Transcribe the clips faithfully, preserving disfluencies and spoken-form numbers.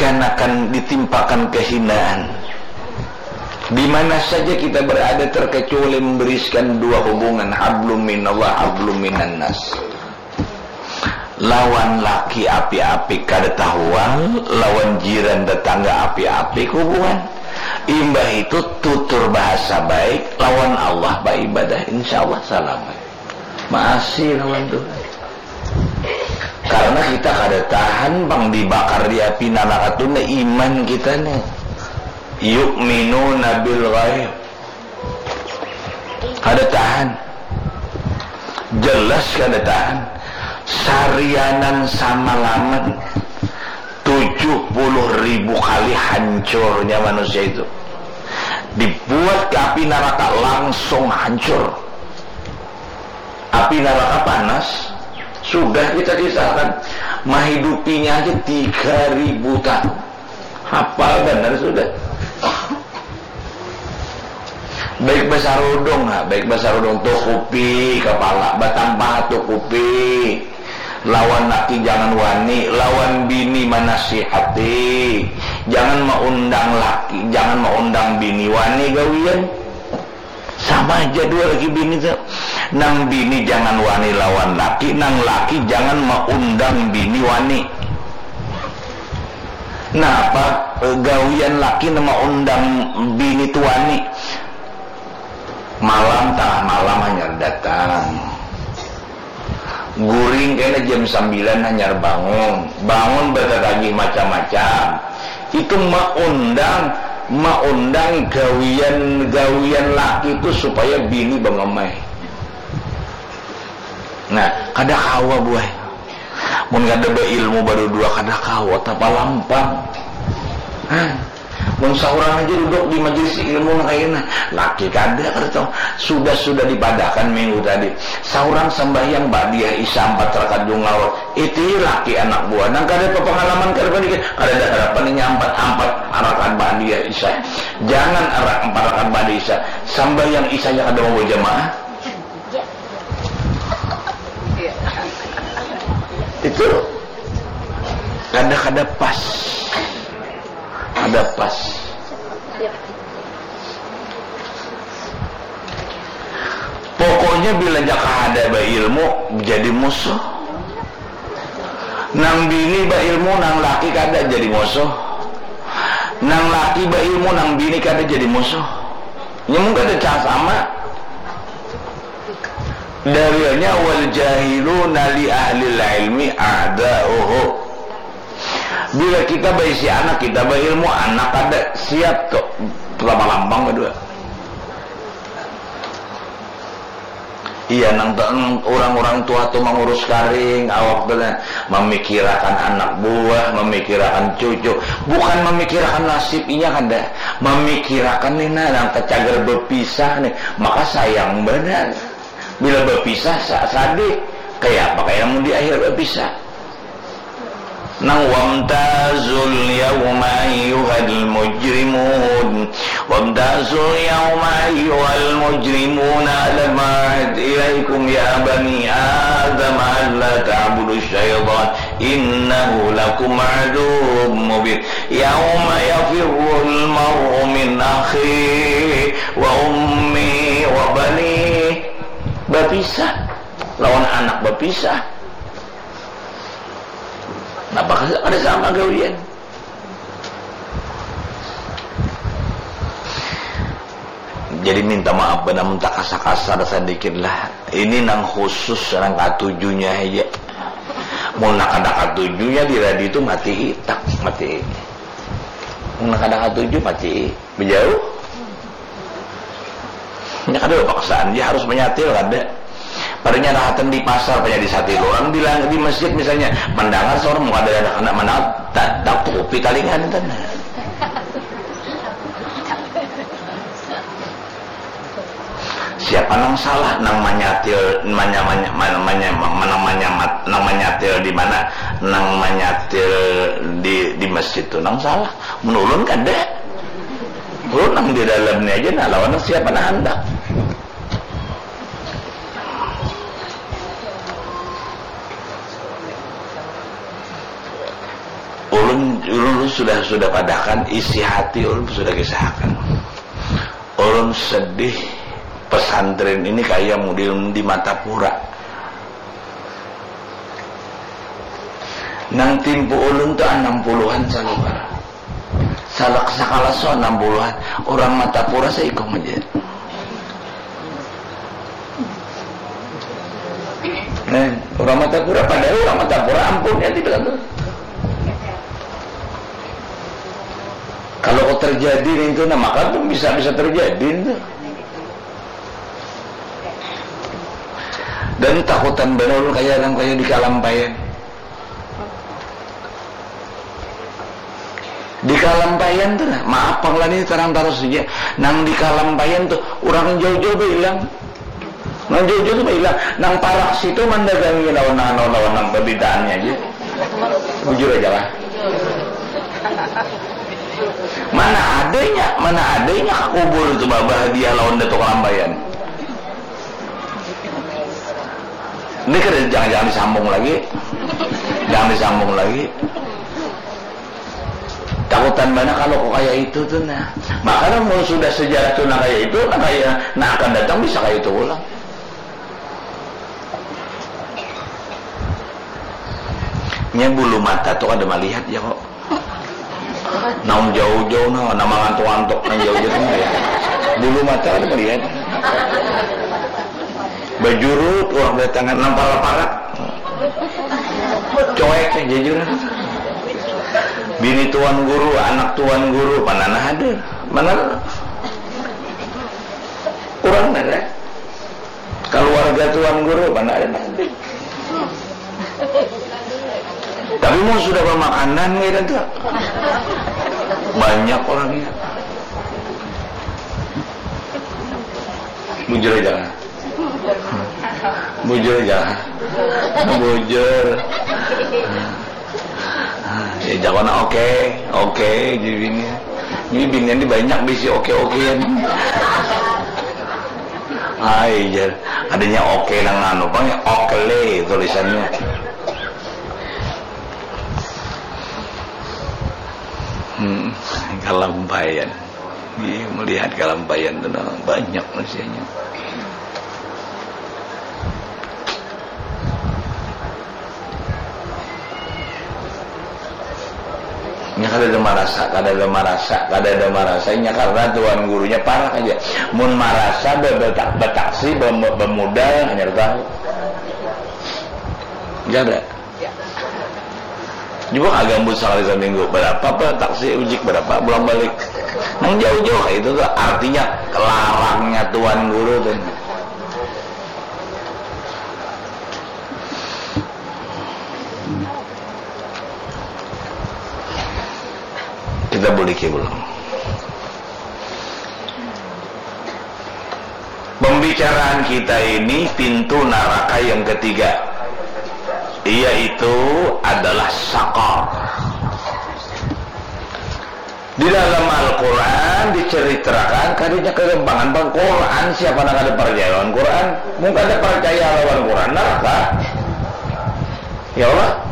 kanakan ditimpakan kehinaan. Di mana saja kita berada, terkecuali memberiskan dua hubungan, hablum minallah, hablum minannas. Lawan laki api-api kada tahual, lawan jiran tetangga api-api hubungan. Imbah itu tutur bahasa baik, lawan Allah baibadah, insya Allah salamat. Maasi lawan Tuhan. Karena kita kada tahan pang dibakar di api naraka tu, nah, iman kita nih. Yu'minuna bil ghaib. Kada tahan. Jelas kada tahan. Sarianan samalaman, tujuh puluh ribu kali hancurnya manusia itu. Dibuat ke api naraka, langsung hancur. Api naraka panas, sudah kita kisahkan. Mahidupinya aja tiga ribu tahun. Hafal banar sudah. Baik basarudung, ha, baik basarudung tu kupi kapala, batampah tu kupi. Lawan laki jangan wani, lawan bini manasihati. Jangan maundang laki, jangan maundang bini, wani gawian. Sama aja dua laki bini tu. Nang bini jangan wani lawan laki, nang laki jangan maundang bini wani. Napa, eh, gawian laki nang maundang bini tu wani? Malam, tangah malam hanyar datang. Guring kena jam sambilan hanyar bangun. Bangun batatagih macam-macam. Itu maundang, maundang gawian-gawian laki tu supaya bini bangamai. Nah, kada kawa buai. Mun kada bailmu badudua kada kawa tapalampang. Hah? Mun saurang aja duduk di majelis ilmu nang kaya ini, laki kada, kada tahu. Sudah, sudah dipadahkan minggu tadi. Saurang sambahyang ba'diyah isya ampat rakaat jua ngawur. Iti laki anak buah nang kada bapangalaman, kada pandikir, kada ada harapan inya ampat, ampat rakaat ba'diyah isya. Jangan ara-, ampat rakaat ba'diyah isya. Sambahyang isya aja kada mau bajamaah. Itu kada, kada pas. Kada pas. Pokoknya bila jaka kada bailmu, jadi musuh. Nang bini bailmu, nang laki kada, jadi musuh. Nang laki bailmu, nang bini kada, jadi musuh. Nya mun kada cara sama. Dalilnya, "Wal jahiluna li ahlil ilmi a'da'uhu." Bila kita baisi anak, kita bailmu, anak kada siap tu, lama-lambang badua. Iya, nang te-, nang urang-urang tua tu mangurus karing, awak tu nah, mamikirakan anak buah, mamikirakan cucu, bukan mamikirakan nasib inya kada, mamikirakan ni nah, nang tacagar bapisah nih, maka sayang banar. Bila bapisah, sa-, sadih. Kaya apa kaya mun di akhir bapisah? Nang, "Wamtazul yauma ayyuhal mujrimun, wamtazul yauma ayyuhal mujrimun, alam a'had ilaikum ya bani Adam alla ta'budu syaitan, innahu lakum aduwwum mubin. Yauma yafirrul mar'u min akhihi wa ummihi wa banihi." Bapisah. Lawan anak bapisah. Napa kada sama gawian? Jadi minta maaf banar mun takasar-kasar sadikit lah. Ini nang khusus, nang katujunya haja. Mun nang kada katujunya di radio tu mati, tak mati. Mun nang kada katuju mati. Bejauh. Nya kada bapaksaan, nya harus manyatil kada. Pada nya rahatan di pasar, pada di satilu. Urang bilang di masjid misalnya, mandangar saurang mun kada ada handak mandangar, ta-, tatupi talinga nih. Siapa nang salah? Nang manyatil, manya-, manya-, mana-, manya-, mana-, manyamat-, nang manyatil di mana? Nang manyatil di, di masjid tu nang salah. Mun ulun kada. Ulun nang di dalam ni aja nah, lawan nang siapa nang handak. Ulun, ulun sudah, sudah padahakan, isi hati ulun sudah kisahakan. Ulun sedih, pesantren ini kaya mudel di Martapura. Nang timpu ulun tu anam puluhan saluar. Salak sakalas tu anam puluhan. Urang Martapura saikung haja. Nah, urang Martapura, padahal urang Martapura ampun ya, dibilang tu. Kalau kau terjadi nintu, nah, maka tu bisa, bisa terjadi nintu. Dan takutan banar ulun kaya nang kaya di Kalampayan. Di Kalampayan tu nah, maaf pang lah ni tarang tarus saja. Nang di Kalampayan tu, urang jauh-jauh bailang. Nang jauh-jauh tu bailang. Nang parak situ mandagangi lawan, lawan, lawan nang babitaannya aja. Bujur aja lah. Mana adanya, mana adanya ka kubur itu bah-, bahadiah lawan Datuk Kalampayan. Ini kada, jangan, jangan disambung lagi. Jangan disambung lagi. Takutan banar kalau kok kaya itu tu nah. Maka mun sudah sejarah tu nah kaya itu, nah kaya, nah akan datang bisa kaya itu pulang. Nya bulu mata tu kada malihat ya kok. Nang jauh-jauh nah, nang mangantuk-ngantuk, nang jauh-jauh tu malihat. Bulu mata kada malihat. Bajurut urang datangan, nang parak-parak. Cuek haja jurang. Bini tuan guru, anak tuan guru, mana nah ada? Mana? Urang ada. Kaluarga tuan guru, mana ada? Tapi mun sudah bamakanan kaya tu, banyak urangnya. Bujur aja lah. Bujur aja lah. Bujur. Ya, jawabannya oke, oke, jadi bini. Ini binian ini banyak bisi oke-okean. Ai, jar. Adanya oke nang anu, pang ya, okle tulisannya. Hmm, Kalampayan. Iya, melihat Kalampayan tu nah, banyak manusianya. Nya kada ada marasa, kada ada marasa, kada ada marasa. Nya karena tuan gurunya parak aja. Mun marasa be-, betak-, betaksi, be-, bemudal, hanyar tahu. Kada. Coba kagambut sakali saminggu, berapa pa taksi ujik, berapa pulang balik. Nang jauh-jauh kayak itu tuh, artinya kelarangnya tuan guru tuh. Kita boleh ke belum? Pembicaraan kita ini pintu naraka yang ketiga, yaitu adalah sakar. Di dalam Al-Quran diceritakan, kadanya kegampangan bang Quran, siapa nang kada percaya lawan Quran, mun kada percaya lawan Quran, neraka. Ya Allah.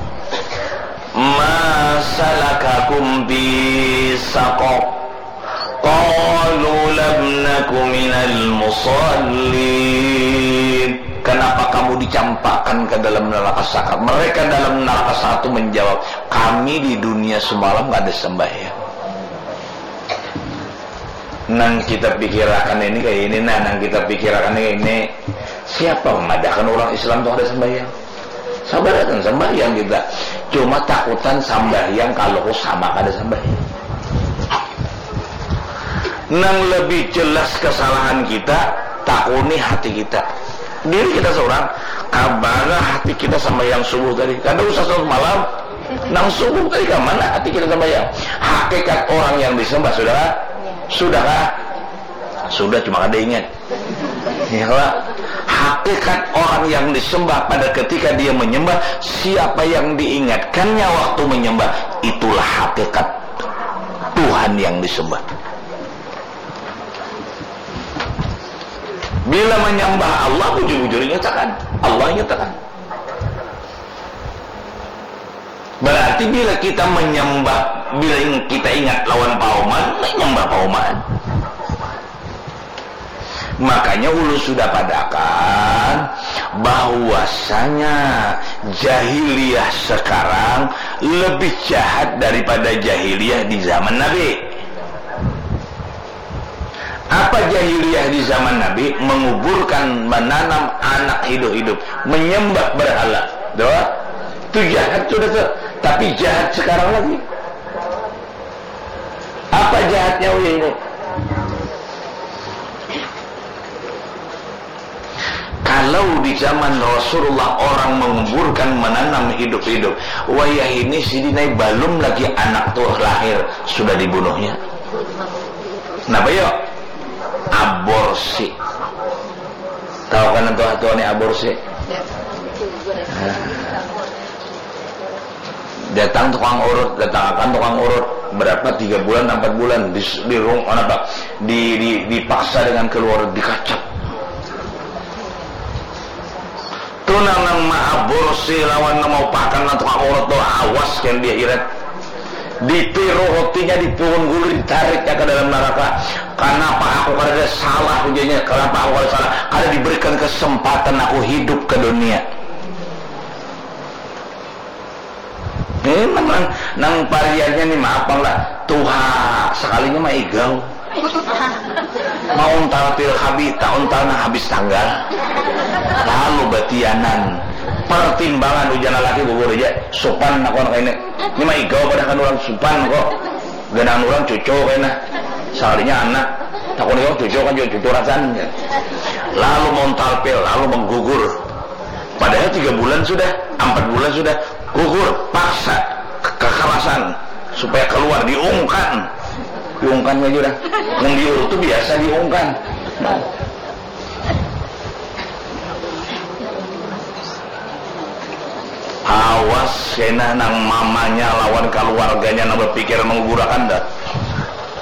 Ma salakakum fi saqar? Qalu lam naku minal musallin. Kenapa kamu dicampakkan ke dalam neraka sakar? Mereka dalam neraka sakar itu menjawab, kami di dunia semalam nggak ada sembahyang. Nang kita pikirakan ini kayak ini, nah, nang kita pikirakan ini, siapa memadahkan orang Islam tuh ada sembahyang? Sabar kan sembahyang kita. Cuma takutan sembahyang kalau ku sama kada sembahyang. Nang lebih jelas kesalahan kita, takuni hati kita. Diri kita seorang, kabarah hati kita sembahyang subuh tadi. Kada usah salat malam, nang subuh tadi kamana hati kita sembahyang? Hakikat orang yang disembah, sudahkah? Sudahkah? Sudah, cuma kada ingat. Ya, Pak. Hakikat orang yang disembah pada ketika dia menyembah, siapa yang diingatkannya waktu menyembah, itulah hakikat Tuhan yang disembah. Bila menyembah Allah, bujur-bujur nyatakan. Allah nyatakan. Berarti bila kita menyembah, bila kita ingat lawan pauman, menyembah pauman. Makanya ulun sudah padakan bahwasanya jahiliyah sekarang lebih jahat daripada jahiliyah di zaman Nabi. Apa jahiliyah di zaman Nabi? Menguburkan, menanam anak hidup-hidup, menyembah berhala. Doa. Itu jahat sudah tuh. Tapi jahat sekarang lagi. Apa jahatnya ini? Kalau di zaman Rasulullah orang menguburkan, menanam hidup-hidup, wayah ini sidin ai balum lagi anak tuh lahir sudah dibunuhnya. Napa yo? Aborsi. Tahu kan tuh tuh nih aborsi? Nah. Datang tukang urut, datang akan tukang urut. Berapa, tiga bulan, empat bulan di, di rung, apa, di, di, dipaksa dengan keluar, dikacap. Tuh nang nang maaborsi lawan nang mau pakan nang tukang urut tuh awas kan dia irat. Ditiru rotinya, dipukul gulu, ditariknya ke dalam neraka. Kenapa aku kada salah ujarnya? Kenapa aku kada salah? Kada diberikan kesempatan aku hidup ke dunia. Ini nang, nang pariannya nih, maaf bang lah, tuha sekalinya mah igau. Mau untal pil kabita, untal nang habis tanggal. Lalu batianan. Pertimbangan ujar laki gugur aja. Supan aku anak ini. Ini mah igau padahal orang supan kok. Ganangan orang cucu kena. Sekalinya anak. Takut orang cucu kan juga cucu rasan. Lalu mau untal pil, lalu menggugur. Padahal tiga bulan sudah, empat bulan sudah, gugur, paksa, ke-, kekerasan supaya keluar, diungkan, diungkan aja dah. Mun diurut tuh biasa diungkan. Awas kena nang mamanya lawan keluarganya nang berpikir menggugurakan dah.